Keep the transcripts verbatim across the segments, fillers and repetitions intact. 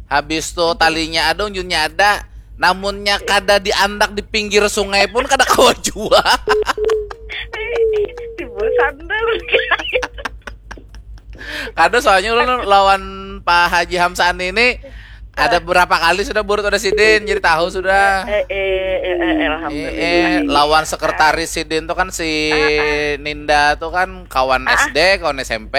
Habis tu talinya ada, unjunnya ada. Namunnya kada diandak di pinggir sungai pun kada kawa jua. Timbul sandal. Kada, soalnya ulun lawan Pak Haji Hamsani ini ada berapa kali sudah burut ada sidin, jadi tahu sudah. Eh, eh, eh, eh, alhamdulillah. Eh, eh, lawan sekretaris sidin tuh kan si Ninda tuh kan kawan S D, kawan S M P.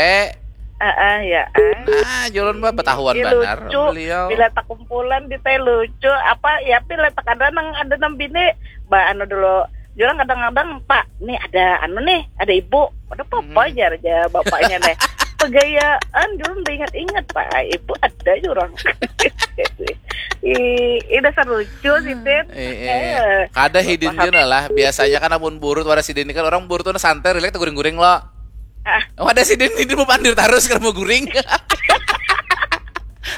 Ah, ah, ya. Ah. Nah, julun bah betahuan Ih, banar lucu. Beliau. Bila tak kumpulan di teh lucu. Apa ya, bila tak ada nang, ada nang bini. Ba anu dulu. Jurang kadang-kadang, "Pak, nih ada anu nih, ada ibu." Ada apa Hmm. aja aja bapaknya nih. Pegayaan, jurang udah ingat-ingat, Pak. Ibu ada jurang. Ih, ih, dasar lucu sih, Tin. Eh, eh. Kada hidin jua lah. Biasanya kan amun burut wara sidin kan orang burut tuh santai, rilek, guring-guring lo. Ah. Oh, ada sidin ini mau pandir terus kalau mau guring.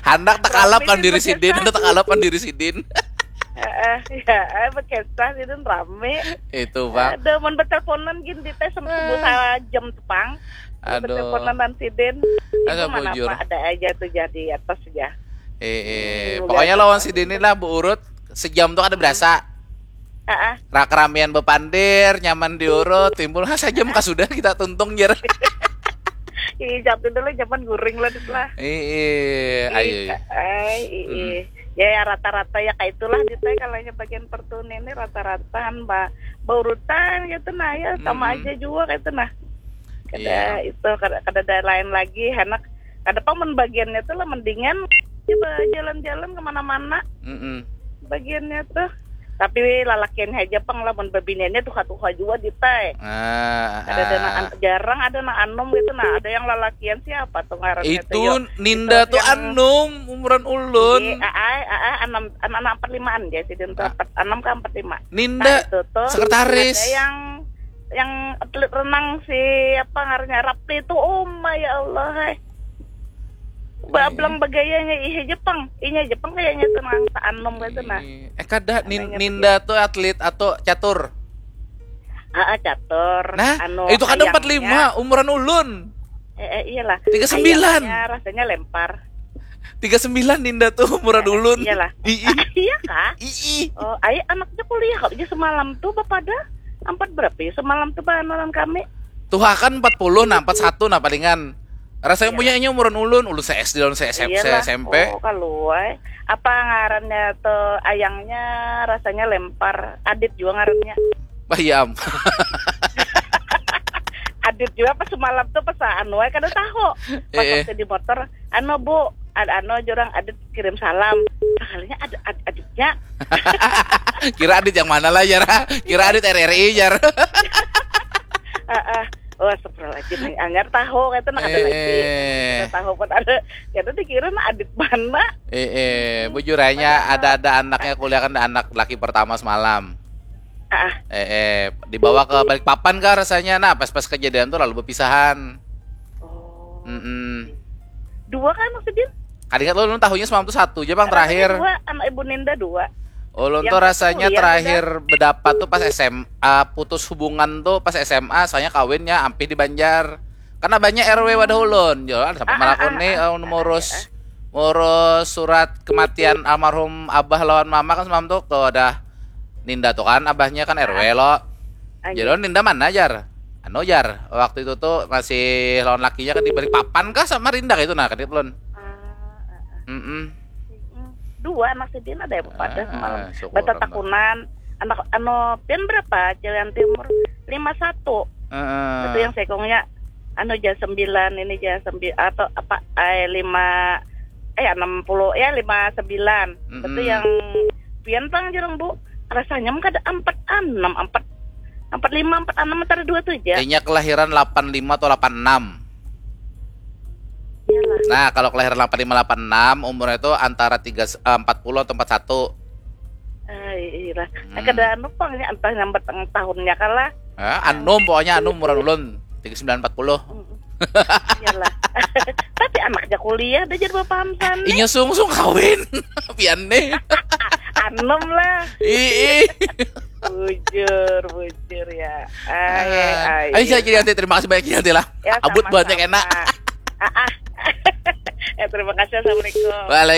Handak takalap pan diri sidin, handak takalap pan diri sidin. Heeh, ya, eh, berkisah sidin rame. Itu, Pak. Ada mun berteleponan gin di teh sama sebut salah jam tepang. Aduh. Berteleponan dan sidin. Asa Ibu mana bujur. Pak, ada aja tuh jadi atas ya. Eh, eh. Hmm, Pokoknya udah. Lawan sidin ini lah, Bu Urut, sejam tuh ada berasa. Heeh. Ra-, keramian bepandir, nyaman diurut, timbul ha saja muka sudah kita tuntung jar. Ih, jam dulu zaman guring lah, Dit, lah. Ih, ih, ayo. Ih, ai, ih, ih. Ya, ya, rata-rata ya kayak itulah, Dit, ya, kalau yang bagian pertuni ini rata-rata kan ba baurutan gitu nah, ya sama Mm-mm. aja juga gitu nah. Kada Iya. Itu, kada, kada ada lain lagi, enak. Kada pang mun bagiannya tuh lah mendingan coba jalan-jalan kemana-mana Mm-mm. bagiannya tuh. Tapi lalakiannya aja pang lah, mun babiniannya tuha-tuha juga, Dit, ai. Ah, Ada, ada ah. na-, jarang ada nang anom gitu nah. Ada yang lalakian siapa tuh ngarannya tuh, Itu yo? Ninda Itu tuh yang anom, umuran ulun. Iya, ai, ai, anam, anak empat limaan ya sidin tuh, Ah. empat, enam ke empat lima. Ninda Nah, itu tuh sekretaris. Ada yang yang atlet renang si apa ngarannya, Rapli tuh, oh my Allah, hai. Bablang bagayanya, ih, Jepang. Inya Jepang kayaknya tuh nang anom gitu nah. Eh, eh, kada, Nin- Namanya Ninda tuh atlet atau catur. Ah, ah, catur. Nah, Anu, itu kada ayangnya. Empat lima, umuran ulun. Eh, eh, iyalah. Tiga sembilan. Ayangnya rasanya lempar. Tiga sembilan Ninda tuh umuran ulun. Iyalah. Ii. Iya kah? Ii. Oh, ayo anaknya kuliah kok aja semalam tuh bapak ada empat berapa ya semalam tuh bahan orang kami. Tuha kan empat puluh, nah, empat satu, nah, palingan. Rasanya Iya. Punya inya umuran ulun, ulun se S D, ulun se S M P, Iyalah. S M P. Oh, kaluai. Apa ngarannya tuh ayangnya rasanya lempar. Adit juga ngarannya. Bayam. Adit juga pas semalam tuh pas anu ai kada tahu. Pas Eh. Waktu di motor, anu Bu, ad anu jurang Adit kirim salam. Sekalinya ad, ad, Aditnya. Kira Adit yang mana lah, jar? Kira Adit R R I, jar. Heeh. Wah, astagfirullahaladzim, yang anyar tahu kata nak ada lagi. Eh. Kada tahu pun ada. Kada dikira nak Adit mana. Eh, eh, bujur aja ada ada anaknya kuliah kan, anak laki pertama semalam. Ah, Eh, eh, dibawa ke Balikpapan kah rasanya? Nah, pas-pas kejadian tuh lalu berpisahan. oh. Mm-mm. Dua kan maksudnya? Kada ingat lo, ulun tahunya semalam tuh satu aja, Bang, terakhir. Dua, anak Ibu Ninda dua. Ulun Yang tuh satu rasanya kuliah terakhir berdapat tuh pas S M A, putus hubungan tuh pas S M A, soalnya kawinnya ampih di Banjar. Karena banyak R W wadah ulun, jualan sampai Ah, ah, melakoni ah, eh, ngurus ngurus surat kematian almarhum abah lawan mama kan semalam tuh, tuh ada Ninda tuh kan, abahnya kan R W lo. Ah, Jadi, "Oh, Ninda mana, jar?" Anu, jar, waktu itu tuh masih lawan lakinya kan di Balikpapan kah sama Rinda gitu, nah, kadit ulun. Ah, ah, ah. Mm-mm. Mm, dua anak sidin ada ya pada Ah, semalam. syukur, Bata takunan anak anu pian berapa cilian timur? Lima satu. Heeh. Itu yang sekongnya anu jam sembilan ini jam sembilan atau apa eh lima eh enam puluh ya lima sembilan. Mm-mm. Itu yang pian pang jurang Bu. Rasanya mah kada empat enam empat empat lima empat enam antara dua tuh aja. Kayaknya kelahiran delapan lima atau delapan enam. Iyalah. Nah, kalau kelahiran delapan lima delapan enam, umurnya itu antara tiga, eh, empat puluh atau empat satu. Ah, iya lah. Hmm. Kada anu pang ya, entah nyambat tang tahunnya kalah. Eh, anum, pokoknya anum, umuran ulun tiga sembilan empat puluh. Iyalah. Tapi anaknya kuliah, dah jadi bapak Hamsan nih. Inya sungsung kawin. Pian nih. Anom lah. Ih. Bujur, bujur ya. Ay, ay. Ayo, saya jadi nanti, terima kasih banyak nanti lah. Ya, Abut sama-sama. Banyak enak. Ah, ah. Ya, terima kasih. Assalamualaikum. Waalaikumsalam.